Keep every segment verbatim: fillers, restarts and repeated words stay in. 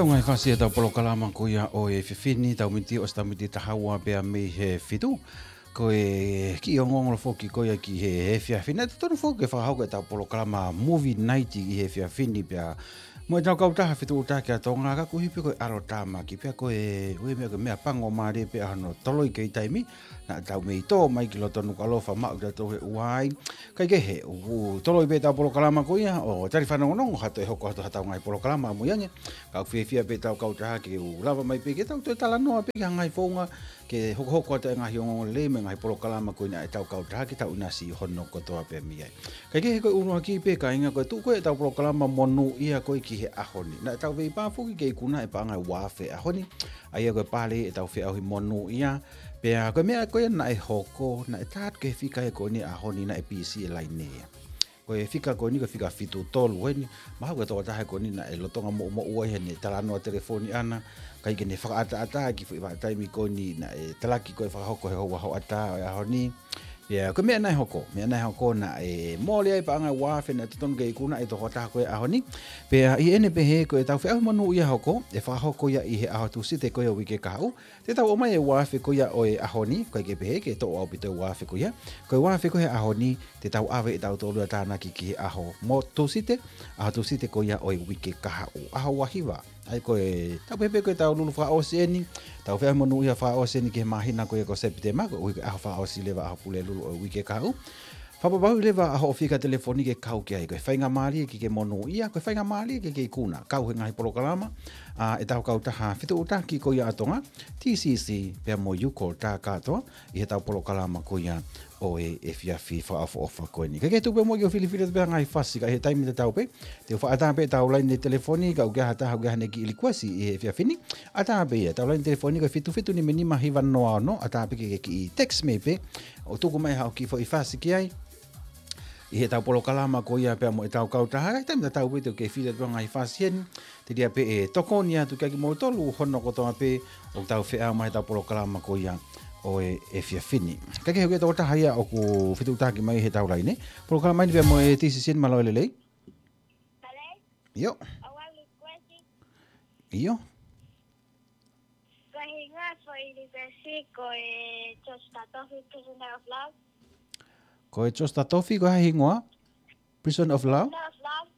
Tau ngaahi fasi ʻetau polokalama ko ia ʻo e efiafi ni, tau miniti ʻosi tau miniti taha ua pea mei he fitu. Ko e kiʻi ongoongo foki ko ia ki he efiafi ni, naʻe totonu foki ke fakahoko ʻetau polokalama movie night ʻi he efiafi ni pea mo ʻetau kautaha fetuʻutaki ʻa Tonga, ka koeʻuhi pē ko e ʻalotāmaki pea ko e ʻuhi meʻa, ko e meʻa pango mālie pē ʻa hono toloi kei taimi, naʻa tau mei tō mai ki loto Nukuʻalofa maʻu kitautolu he ʻuha ai. Kae kehe, ʻoku toloi pē ʻetau polokalama ko ia ʻo tali fanongonongo ha toe hoko atu haʻatau ngaahi polokalama ʻamui ange. Ka ʻoku fiefia pē ʻetau kautaha ke u lava mai pē ke tau toe talanoa pē ki ha ngaahi founga ke hokohoko atu e ngaahi ongoongolelei mo e ngaahi polokalama ko ia ʻetau kautaha ke tau ʻinasi hono kotoa pē mei ai. Kae kehe, ko e ʻuluaki pē kāinga, ko e tuʻu ko ia ʻetau polokalama monūʻia ko ia ki he ʻaho ni. Naʻa tau veipā foki ke ikuna e paʻanga ʻe ua afe he ʻaho ni, ʻa ia ko e pale ʻetau feʻauhi monūʻia. Pea ko e meʻa ko ia naʻe hoko, naʻe tā atu ki he fika ia ko eni he ʻaho ni, naʻe pisi e laine ia. Ko e fika ko eni ko e fika fitu tolu eni, mahalo ko e tokotaha ko eni naʻe lolotonga moʻumoʻua ʻi heʻene talanoa telefoni ʻana, ʻikai ke ne fakaʻataʻatā ki he foʻi vahaʻa taimi ko eni naʻe talaki ko e fakahoko he houa hoʻatā ʻo e ʻaho ni. Pea ko e meʻa naʻe hoko, meʻa naʻe hoko naʻe mole ai e paʻanga ʻe ua afe naʻe totonu ke ikuna ʻe he tokotaha ko ia he ʻaho ni. Pea ʻi heʻene pehē, ko ʻetau feʻauhi monūʻia hoko, ʻe fakahoko ia ʻi he ʻaho Tūsite ko ia ʻo e uike kahaʻu. Te tau ʻomai e ua afe ko ia ʻo e ʻaho ni, ʻikai ke pehē ke toʻo ʻaupito e ua afe ko ia. Ko e ua afe ko ia he ʻaho ni, te tau ʻave ʻe tautolu ia ʻo tānaki ki he ʻaho mo Tūsite, ʻaho Tūsite ko ia ʻo e uike kahaʻu, ʻaho ua hiva. ʻA ia ko e, tau pehē pē ko ʻetau Lulu fakaʻosi eni, ʻetau feʻauhi monūʻia fakaʻosi eni ki he māhina ko ia ko Sepitema, koeʻuhi ko e ʻaho fakaʻosi leva ʻaho Pulelulu ʻo e uike kahaʻu. Fakapapauʻi leva ʻa hoʻo fika telefoni ke kau ki ai, ko e faingamālie ke ke monūʻia, ko e faingamālie ke ke ikuna, kau he ngaahi polokalama ʻa ʻetau kautaha fetuʻutaki ko ia ʻa Tonga, T C C, pea mo Yuko Takatoa, ʻi heʻetau polokalama ko ia ʻo e efiafi fakaʻofoʻofa ko eni. Kae kehe, tuku pē muʻa ke u filifili atu pē ha ngaahi fasi, ka ʻi he taimi tatau pē, te u fakaʻatā pē ʻetau laine telefoni, ka ʻoku ʻi ai ha taha ʻoku ʻi ai haʻane kiʻi likuesi ʻi he efiafi ni, ʻatā pē ia. ʻEtau laine telefoni ko e fitu fitu nima nima hiva noa ono, ʻatā pē ke ke kiʻi text mei pē ʻo tuku mai haʻo kiʻi foʻi fasi ki ai ʻi heʻetau polokalama ko ia pea mo ʻetau kautaha. Ka ʻi he taimi tatau pē te u kei fili atu ha ngaahi fasi heni, telia pē ʻe tokoni atu kiate kimoutolu hono kotoa pē ʻoku tau feʻao mai heʻetau polokalama ko ia ʻo e efiafi ni. Kae kehe, ʻoku ʻi ai e tokotaha ia ʻoku fetuʻutaki mai heʻetau laine. Polokalama ni pea mo e T C C, mālō e lelei. Mālō. ʻIo. ʻOku ou likuesi. ʻIo. Ko e hingoa e foʻi likuesi ko e George Tatofi, Prisoner of Love. Ko e George Tatofi, ko e hā e hingoa? Prisoner of Love? Prisoner of Love.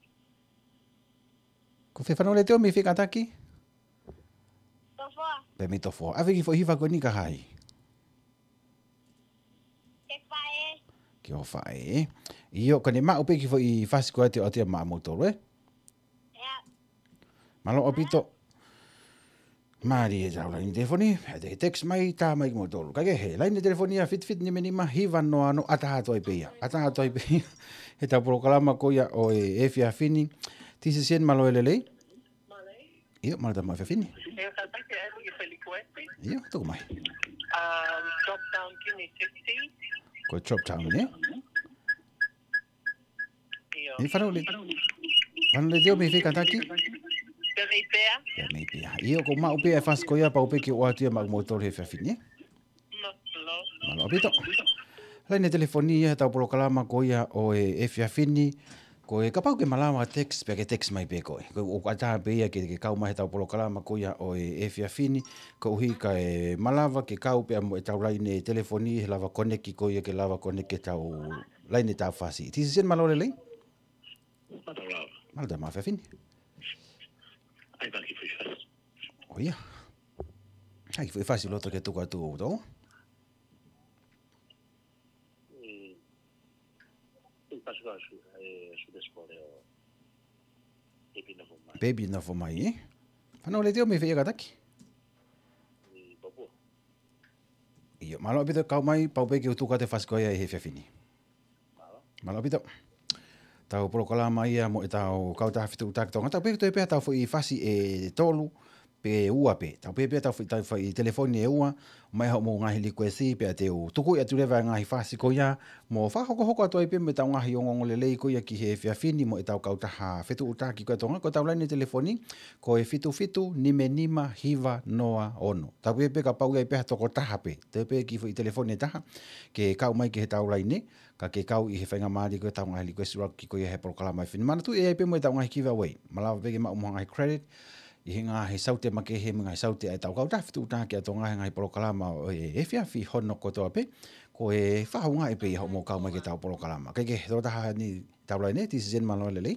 Ko fē, fanongo letiō, mei fē kātaki? Tofoa. Pea mei Tofoa. ʻAve e kiʻi foʻi hiva ko eni kia hai? Ki he faʻē. Ki hoʻo faʻē. ʻIo, ka ne maʻu pē e kiʻi foʻi fasi ko ia te u ʻoatu ia maʻamoutolu, ē? ʻIo. Mālō ʻaupito. Mālie ʻetau laine telefoni, ʻe te text mai, tā mai kimoutolu. Kae kehe, laine telefoni ia fitu fitu nima nima hiva noa ono, ʻatā atu ai pē ia. ʻAtā atu ai pē ia heʻetau polokalama ko ia ʻo e efiafi ni. T C C, mālō e lelei. ʻIo, mālō e tama efiafi ni. ʻIo, tuku mai. Um, drop down, give me sixty. Ko e drop down, ē? ʻIo. ʻE, fanongo le-, fanongo letiō, mei fē kātaki? Pea mei Pea. Pea mei Pea. ʻIo, ʻoku maʻu pē e fasi ko ia, pau pē ke u ʻoatu ia maʻamoutolu he efiafi ni, ē? Mālō. Mālō ʻaupito. Laine telefoni ia heʻetau polokalama ko ia ʻo e efiafi ni. Ko e kapau ʻoku ke malava text, pea ke text mai pē koe. Ko e ʻoku ʻatā pē ia ke, ke kau mai heʻetau polokalama ko ia ʻo e efiafi ni, koeʻuhi kae malava ke kau pea mo ʻetau laine telefoni, he lava koneki ko ia ke lava koneki heʻetau laine tā fasi. T C C, mālō e lelei. Mālō e tama efiafi ni. ʻAi pē ha kiʻi foʻi fasi. ʻOiauē. ʻAi ha kiʻi foʻi fasi ʻoku loto ke tuku atu ʻe tautolu. Mm. Foʻi fasi ko Su-, ʻe, Sudesi Pole ʻo Baby Nofo Mai. Baby Nofo Mai, ē? Fanongo letiō, mei fē ia kātaki? ʻI Papua. ʻIo, mālō ʻaupito e kau mai, pau pē ke u tuku atu e fasi ko ia ʻi he efiafi ni. Mālō. Mālō ʻaupito. Tau polokalama ia mo ʻetau kautaha fetuʻutaki Tonga. Tau pehē ke toe pē haʻatau foʻi fasi ʻe tolu pe ua pē. Tau pehē pē haʻatau foʻi, tau foʻi telefoni ʻe ua, mai haʻamou ngaahi likuesi pea te u tukuʻi atu leva e ngaahi fasi ko ia, mo fakahokohoko atu ai pē mo ʻetau ngaahi ongoongolelei ko ia ki he efiafi ni mo ʻetau kautaha fetuʻutaki ko ia Tonga, ko ʻetau laine telefoni, ko e fitu fitu nima nima hiva noa ono. Tau pehē pē kapau ʻoku ʻi ai pē ha tokotaha pē, toe pē kiʻi foʻi telefoni ʻe taha, ke kau mai ki heʻetau laine, ka ke kau ʻi he faingamālie ko ia ʻetau ngaahi likuesi ʻuluaki ko ia he polokalama efiafi ni. Manatuʻi ʻe ʻi ai pē mo ʻetau ngaahi giveaway. Malava pē ke maʻu mo ha ngaahi credit, ʻi he ngaahi saute makehe mo e ngaahi saute ʻa e tau kautaha fetuʻutaki ʻa Tonga he ngaahi polokalama ʻo e efiafi hono kotoa pē, ko e fakaʻaongaʻi pē ia hoʻomou kau mai ki he tau polokalama. Kae kehe, tokotaha ni tau laine, Tisisen, mālō e lelei.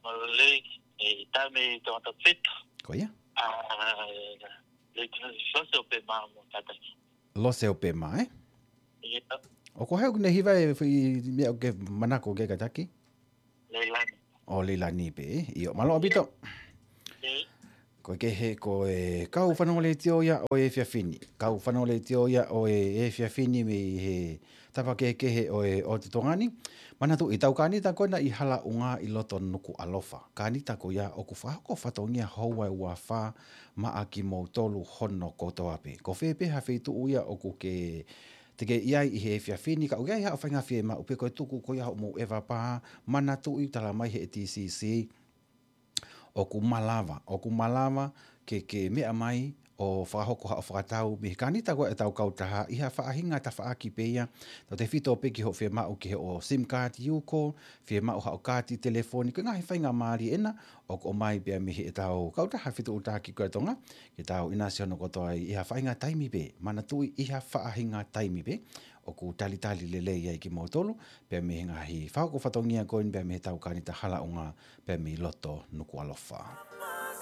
Mālō e lelei, e, taimi tongata pito. Ko ia. A, le tino si soso pe ma mo kataki. Lose ʻo Pema, ē? Ia. ʻOku ʻi ai haʻo kiʻi hiva ʻe fai meʻa ʻoku ke manako ke kātaki? Leilani. ʻO Leilani pē, ē? ʻIo, mālō ʻaupito. Ē. Ko e kehe, ko e kau fanongo letiō ia ʻo e efiafi ni. Kau fanongo letiō ia ʻo e efiafi ni mei he tapa kehekehe ʻo e ʻotu Tonga ni. Manatuʻi, tau kānita ko ena ʻi Halaʻunga ʻi loto Nukuʻalofa. Kānita ko ia ʻoku fakahoko fatongia houa ʻe uafā maʻa kimoutolu hono kotoa pē. Ko fē pē ha feituʻu ia ʻoku ke, te ke ʻi ai ʻi he efiafi ni, ka ʻoku ʻi ai haʻo faʻahinga fiemaʻu pe ko e tuku ko ia hoʻomou ʻeva pā, manatuʻi, talamai ʻe he T C C ʻoku malava, ʻoku malava ke, ke meʻa mai ʻo fakahoko haʻo fakatau mei he kānita ko ē ʻa e tau kautaha ʻi ha faʻahinga tafaʻaki pē ia, tautefito pē ki hoʻo fiemaʻu ki hoʻo SIM card, UCODE, fiemaʻu haʻo kaati telefoni, ko e ngaahi faingamālie ena ʻoku ʻomai pē ia mei he tau kautaha fetuʻutaki ko ē ʻa Tonga, ke tau ʻinasi hono kotoa ʻi ha faʻahinga taimi pē, manatuʻi, ʻi ha faʻahinga taimi pē, ʻoku talitali lelei ai kimoutolu, pea mei he ngaahi fakahoko fatongia ko eni pea mei he tau kānita Halaʻunga pea mei loto Nukuʻalofa.